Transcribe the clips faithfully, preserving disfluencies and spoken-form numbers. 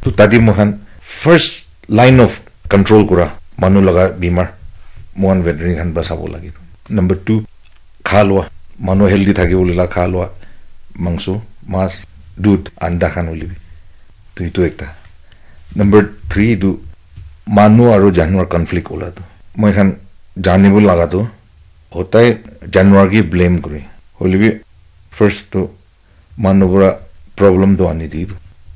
To tadi moikhan first line of control kura manu laga bimar moikhan veterinary khan para sabo lage. Number two, kha lua, manu healthy thaki bole la kha lua, mangso, mas, dudh, anda khan hoile bi. To itu ekta. Number three itu manu aru janwar conflict ola tu. Moikhan janibo laga tu hotai janwar ke blame kuri. Hoile bi first tu manu para problem tu ani di tu.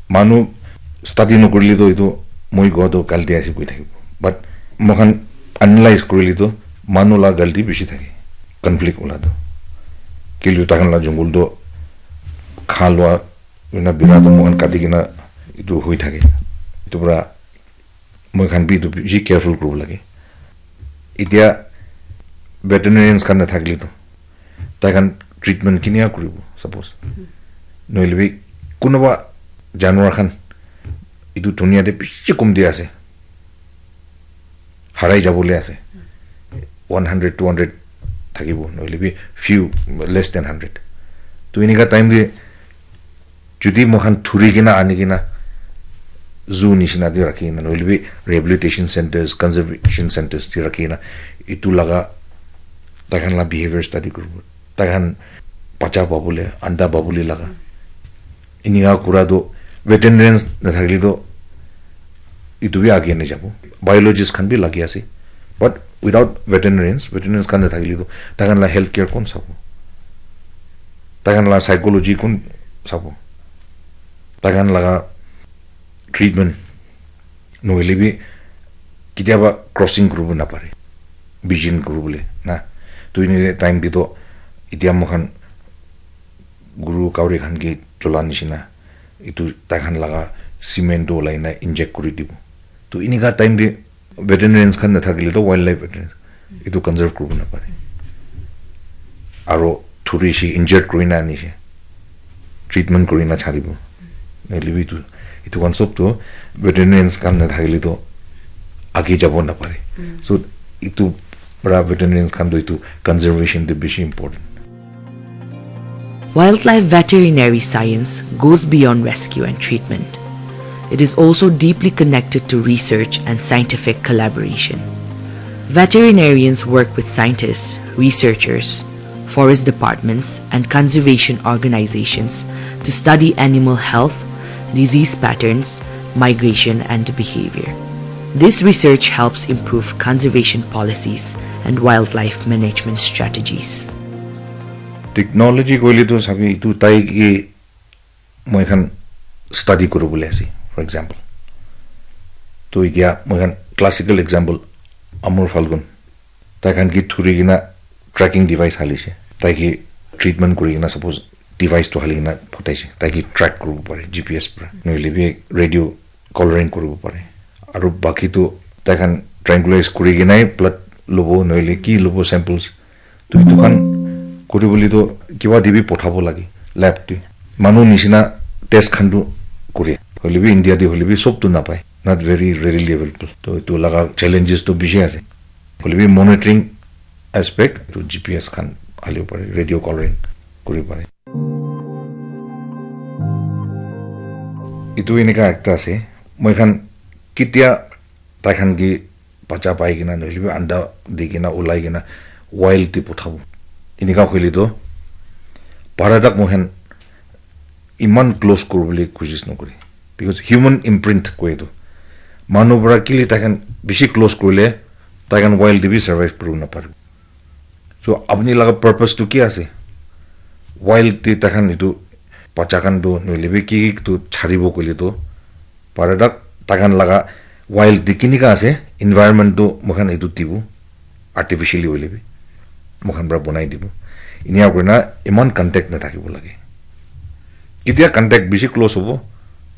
Manu study nokurile tu itu moi go tu galti ase koi thakibo. But moikhan analyze kurile tu manu la galti bishi thake. Conflict ola tu. Kile takhan la jungle tu kha lua ena bira tu moikhan kati kena itu hoi thake. Itu para moikhan bi itu bishi careful kuribo lage. Itya veterinarians khan nathakile tu tai khan treatment kinia kuribo suppose. Nohile bi kunuba janwar khan itu dunia te bishi kom dia ase. Harai jabole ase. One hundred, two hundred thakibo, nohile bi few, less than hundred. To inika time te jodi moikhan thuri kena ani kena zoo nishina te rakhi kena, nohile bi rehabilitation centers, conservation centers te rakhi kena, itu laga tai khan la behavior study kuribo. Tai khan bacha pabole, anda pabole laga. Inika kura tu veterinarians nathakile tu itu bi age nahi jabo. Biologist khan bi lagi ase. But without veterinarians, veterinarians khan nathakile tu tai khan la health care kon sabo? Tai khan la psychology kon sabo? Tai khan laga treatment nohile bi ketiaba crossing kuribo napare. Vision kuribole na. To ini time te to itya moikhan guru kauri khan ke chola nishina itu tai khan laga cement tu olai na inject kuri dibo. To inika time te veterinarians khan nathakile to wildlife veterinarians itu conserve kuribo napare. Aro thuri shi injured kuri na ani shi treatment kuri na charibo. Nohile bi itu, itu khan sob to veterinarians khan nathakile to age jabo napare. So itu para veterinarians khan to itu conservation te bishi important. Wildlife veterinary science goes beyond rescue and treatment. It is also deeply connected to research and scientific collaboration. Veterinarians work with scientists, researchers, forest departments, and conservation organizations to study animal health, disease patterns, migration, and behavior. This research helps improve conservation policies and wildlife management strategies. Technology koile tu sabi itu tai ke moikhan study kuribole ase, for example. To itya moikhan classical example, Amur Falcon. Tai khan ke thuri kena tracking device halise. Tai ke treatment kuri kena suppose device to hali kena photaise. Tai ke track kuribo pare G P S para. Nohile bi radio collaring kuribo pare. Aru baki tu tai khan tranquilize kuri kena blood lobo nohile ki lobo samples. To itu khan kuribole to kiba te bi pothabo lage lab te. Manu nishina test khan tu kure. Hoile bi India te hoile bi sob tu napai. Not very readily available. To itu laga challenges to bishi ase. Hoile bi monitoring aspect to G P S khan halibo pare, radio collaring kuri pare. Itu enika ekta ase. Moikhan ketia tai khan ke bacha pai kena nohile bi anda di kena ulai kena wild te pothabo. Enika hoile to para tak moikhan iman close kuribole kosis nokore. Because human imprint koi etu. Manu para kile tai khan bishi close kurile tai khan wild te bi survive kuribo napare. So apni laga purpose tu ki ase? Wild te tai khan etu bacha khan tu nohile bi ki ki tu charibo koile tu para tak tai khan laga wild te kinika ase environment tu moikhan etu dibo. Artificially hoile bi moikhan para banai dibo. Inia kurina iman contact nathakibo lage. Ketia contact bishi close hobo,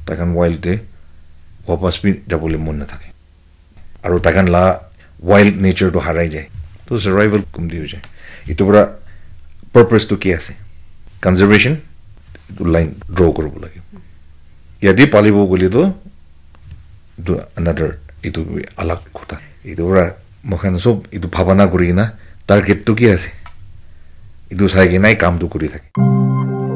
tai khan wild te wapas bi jabole mon nathake. Aru tai khan la wild nature tu harai jai. To survival kumti hoi jai. Itu para purpose tu ki ase? Conservation, itu line draw kuribo lage. Yate palibo koile tu itu another, itu alag kotha. Itu para moikhan sob itu bhabana kuri kena target tu ki ase? Itu sai kena kam tu kuri thake.